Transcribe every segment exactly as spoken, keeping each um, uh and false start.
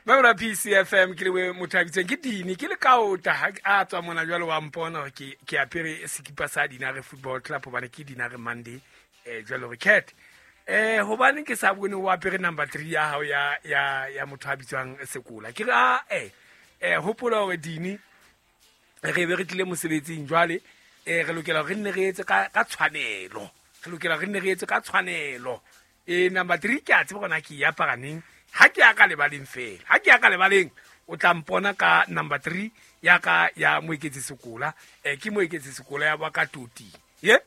Ba P C F M ke le motho a bitswang ke Dini ke le kaota ha a tswa mona jwale wa mpona hore ke ke apere sekipa sa Dinare Football Club hobane ke Dinare Monday eh jwale hore cat eh hobane ke sa bone o apere number three ya hao ya ya ya motho a bitswang Sekola ke re a eh eh hopola hore Dini re be re tlile mosebetsing jwale eh re lokela re nne re etse ka ka tshwanelo re lokela re nne re etse ka tshwanelo e number three ke a tseba gona ke ya paraneng ha ke ya ka lebaleng fela ha ke ya ka lebaleng o tla mpona ka number three ya ka ya Moeketsi Sekola eh ke Moeketsi Sekola ya ba ka toti ye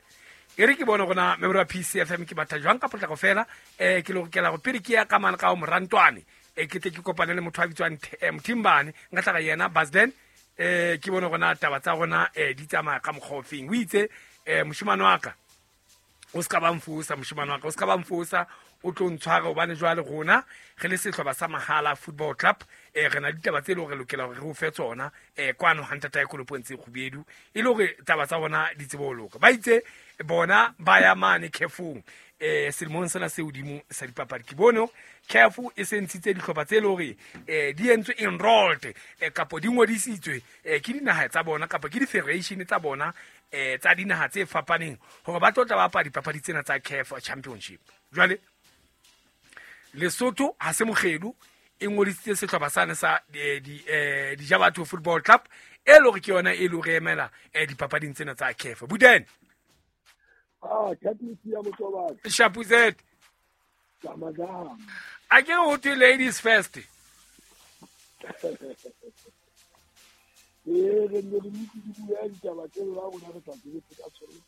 e re ke bone gona member wa P C F M ke batla jwang ka potlako fela eh ke lokela go pele ke ya ka mana ka o morantwane eh ke tle ke kopane le motho a bitswang Mthimbane nka tla ga yena Basden eh ke bone gona taba tsa gona eh di tsamaya ka mokgofeng o itse eh moshimane wa ka o ska ba mfosa moshimane wa ka o ska ba mfosa o tlo ntshwara hobane jwale rona re le sehlopha sa Mahala Football Club eh re na le ditaba tse le hore lokela hore re o fe tsona eh kwano ha ntata ya kolopong tse kgubedu e le hore taba tsa bona di tsebe ho loka ba itse bona ba ya mane khefong eh selemong sena se hodimo sa dipapadi ke bone khefu e se ntshitse dihlopha tse le hore eh di entswe enrolled eh kapo di ngodisitswe eh ke dinaha tsa bona kapa ke di-federation tsa bona eh tsa dinaha tse fapaneng hore ba tlo tla bapala dipapadi tsena tsa C A F Championship jwale Lesotho ha se mokgedu e ngodisitse sehlopha sane sa di eh Dijabatho Football Club e le hore ke yona e le hore emela eh dipapading tsena tsa C A F Buden ah Catlisi ya Motobane Shapuzet Ramazan a ke ho thwe ladies first e re ne re ntse di bua ditaba tse la rona re sa tsebe ka tsone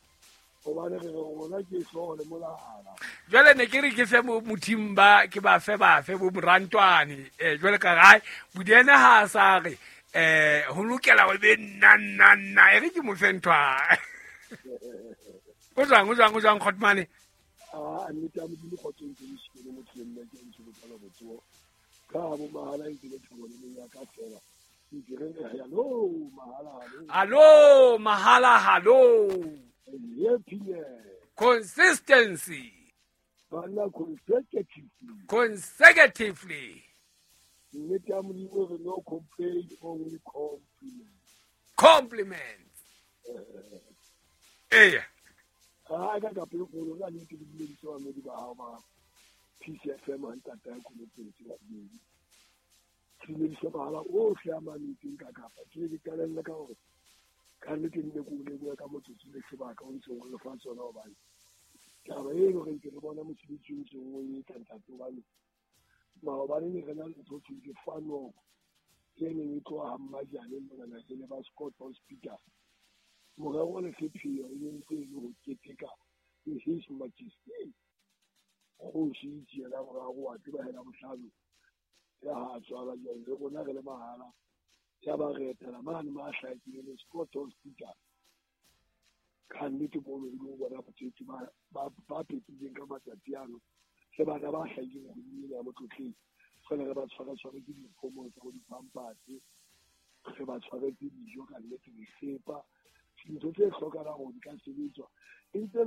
hobane re rona ke hlooho le molala jwale ne ke re ke fe Mothimba ke ba fe ba fe bo morantwane eh jwale ka gae Budene ha sa re eh ho lokela ho be nna nna nna e re ke mo fe nthwa o jwang o jwang o jwang Khotmane ah nnete ya Modimo kgotsong ke le motho le nna ke ntse ke tsala botsoho ka bo mahala ntse le thabo le ya ka fela ke re hello mahala hallo mahala hallo yeah consistency bana consecutively consecutively nnete ya Modimo re no complain only compliment compliments eh ah ka ka pele go rona le ke dumedise ba medi ba hao ba P C F M ha ntata ya kolopong tse kgubedi ke dumedise mahala ohle a mametseng ka kapa ke ke qalelle ka hore ka nnete nne ko leboha ka motsotso le sebaka o ntseng o le fa tsona hobane taba e le hore ke re bona mosebetsi o ntseng o etsa ntate hobane maobane ne re na le ntho thweng ke fanoko e neng e tloha ha Mmajane monana ke le ba Scott Hospital morero le sepheo e ntse e le ho keteka le His Majesty kgosi Itjela boraro wa tseba hela bohlano ya ha tswala jwale le rona re le mahala ya ba re etela mane ma hlahetseng le Scott Hospital ka nnete mono e lo bona botsetsi ba ba ba pepileng ka matsatsi ano le bana ba hlahileng kgweding ena ya Motlotleng fela re ba tshwara tshware ke dikgomo tsa bo dipampatse re ba tshwaretse dijo ka nnete disepa dintho tse hlokahalang hore di ka sebetswa e ntse